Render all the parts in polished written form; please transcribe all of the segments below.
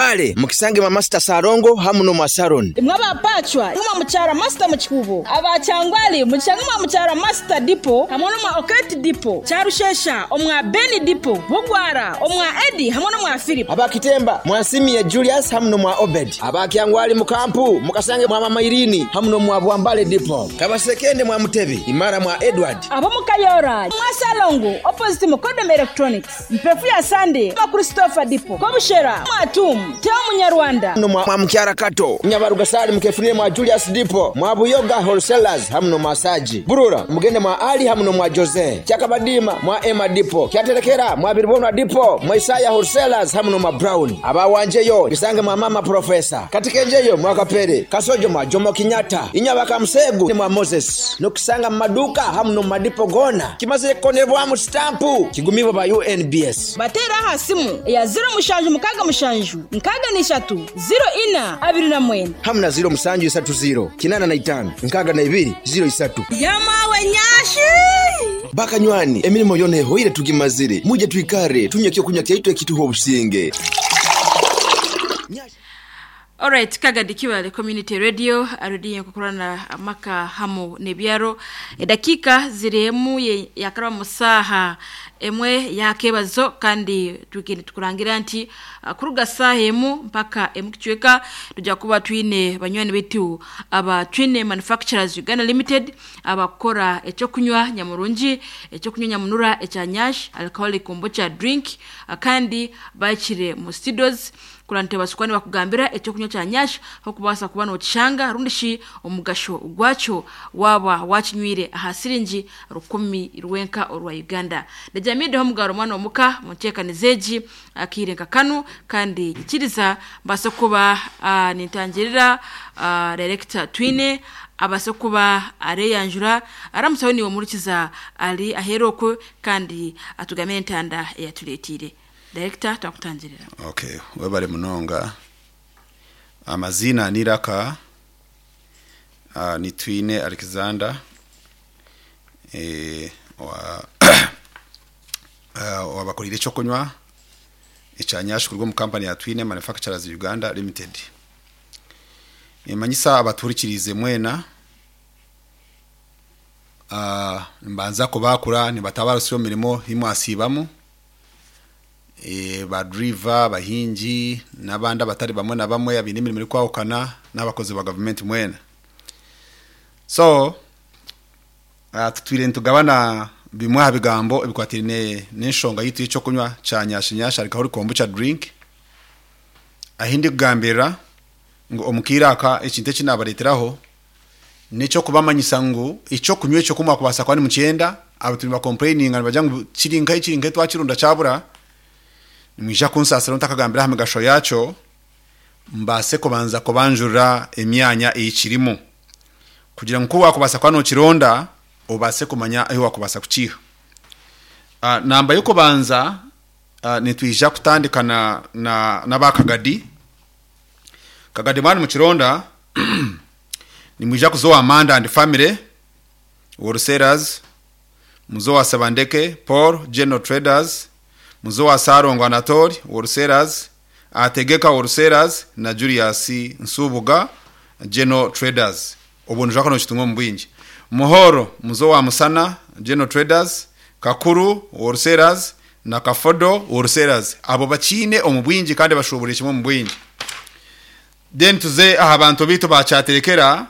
Mbale mukisange mwa Masita Salongo hamu n'omwa Saron. Imwe aba Pacwa mwa Mukyara Masita mu Kikuubo, aba Kyangwali mukishange mwa Mukyara Masita Dipo hamwe n'omwa Oketi Dipo, Kyarushesha omwa Beni Dipo, Bugwara omwa Eddy hamwe n'omwa Philip. Aba Kitemba mwa Nsimie Julius hamu n'omwa Obed. Aba Kyangwali mu Kampu mukasange mwa Mama Irene hamu n'omwa Bwambale Dipo. Kabasekende mwa Mutebi, Imara mwa Edward. Ab'omu Kayora mwa Salongo opposite Mukodom Electronics. Mpefu ya Sande mwa Christopher Dipo, Kobushera mwa Tum, Theo Munyarwanda. No mwa Mukyara Kato, Nyabarugasali mukefunire mwa Julius Dipo, mwa Buyoga Wholesalers hamu no mwa Saji. Burura mugende mwa Ali hamu no mwa Jose. Kyakabadima mwa Emma Dipo, Kyaterekera mwa Biribonwa Dipo, mwa Isaya Wholesalers hamu no mwa Brown. Abawanjeyo bisange mwa Mama Professor. Katikenjeyo mwa Kapere, Kasojo mwa Jomo Kenyatta, Inyabaka Musegu mwa Moses. Nokusanga mu maduka hamu no mu madipo gona. Kimaze kukonebwamu stampu kigumibwa ba UNBS. Bateere aha simu eya 0767 63 04 29. Hamu na 0730 85 62 03. Yamawe nyashi! Bakanywani emirimo yona ehoire tugimazire muje twikare tunywe ekyokunywa kyaitu ekituha obusinge. Alright, Kagadi Kiwale Community Radio arudi kukurana amaka hamu nebyaro edakika ziremu yakaraba musaha emwe yakebazo kandi twikindi tukurangira nti kuruga saha emu mpaka emu kichweka tujya kuba twine banywani betu aba Twine Manufacturers Uganda Limited abakora ecyo kunywa nyamurungi ecyo kunywa nyamunura ecya nyash alcoholic kombucha drink kandi bakire mu studios kurante basukwani bakugambira ecyo kunywa cya nyash aho kubasa kuba nokishanga rundi shi omugasho gwacyo waba wakinywire aha siringi 10 rwenka orwa Uganda ndajamide ho mugaro mwana omuka muntekanizeji akirenka kanu kandi ikiriza mbase kuba nintangirira director Twine abase kuba areyanjura aramusaho niwe murikiza ali aherokwe kandi atugamire ntanda yatuletire director twakutangirira. Okay, webale munonga. Amazina ni Raka, ni Twine Alexander, wabakorire cyo kunywa icyanyash kurwo mu company ya Twine Manufacturers Uganda Limited. Imanyisa abaturikirize mwena mbanza kubakura nibatabara siyo mirimo himwasibamo ba driver bahingi n'abandi abatari bamwe na bamwe abine imirimo iri kwahukana n'abakozi ba government mwena. So tutwire ntugabana bimwe aha bigambo ebikwatirine n'enshonga yitu y'ekyo kunywa kya nyashinyasha alcoholic kombucha drink ahindi kugambira ngu omukiiraka ekintu eki nabareeteraho nikyo kubamanyisa ngu ekyo kunywa ekyo kumwa kubasa kuba nimukyenda abantu nibakomplaininga nibagira ngu kiri nkahi kiri nkahi twakirunda kyabura. Nimwija kunsasira ntakagambira aha migasho yakyo mbase kubanza kubanjura emyanya eyikirimu kugira ngu wakubasa kuba nokironda obase kumanya ahu wakubasa kukiha. Namba y'okubanza nitwija kutandika na n'abakagadi Kagadi mwana mukironda nimwija kuzowa Amanda and family wholesalers, muzowa Sebandeke Paul General Traders, muzowa Sarongo Anatoli wholesalers, Ategeka wholesalers na Julius Nsubuga General Traders. Obwo nujako no kitungo mbwingi. Muhoro muzowa Musana General Traders, Kakuru wholesalers na Kafodo wholesalers. Abo bakine omubwingi kandi bashobora kimwe mubwingi. Then tuze aha bantu bitu bacyaterekera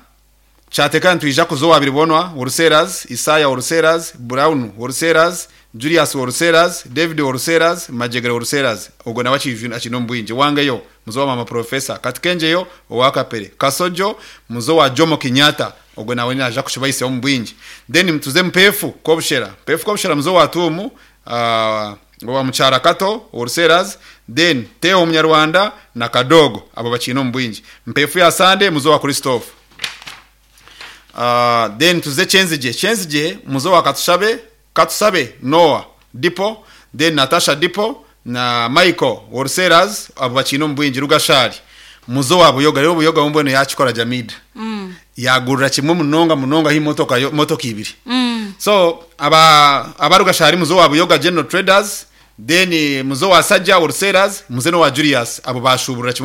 cyatekera ntwija kuzowa biribonwa wholesalers, Isaya wholesalers, Brown wholesalers, Julius wholesalers, David wholesalers, Majegere wholesalers. Ogwo nawe akino mbwingi wangeyo muzowa mama professor Katikenjeyo owakapere Kasojo muzowa Jomo Kenyatta ogwo nawe naja kushibaise mbwingi. Then mtuze mpefu kobushera mpefu kobushera muzowa Tumu wa Mukyara Kato wholesalers, then Theo Munyarwanda na Kadogo abo bakino mbwingi. Mpefu ya Sande muzowa Christophe. Then tuze Chenzije muzowa Katusabe Noah Dipo, then Natasha Dipo na Michael wholesalers abo bakino mbwingi. Rugashari muzowa Buyoga rero Buyoga mbweno yakikora Jamida yagurira kimwe munonga himotoka motoka ibiri. So abarugashari muzowa Buyoga General Traders, then muzowa Sajja wholesalers, muzeno wa Julius abo bashubura kimwe.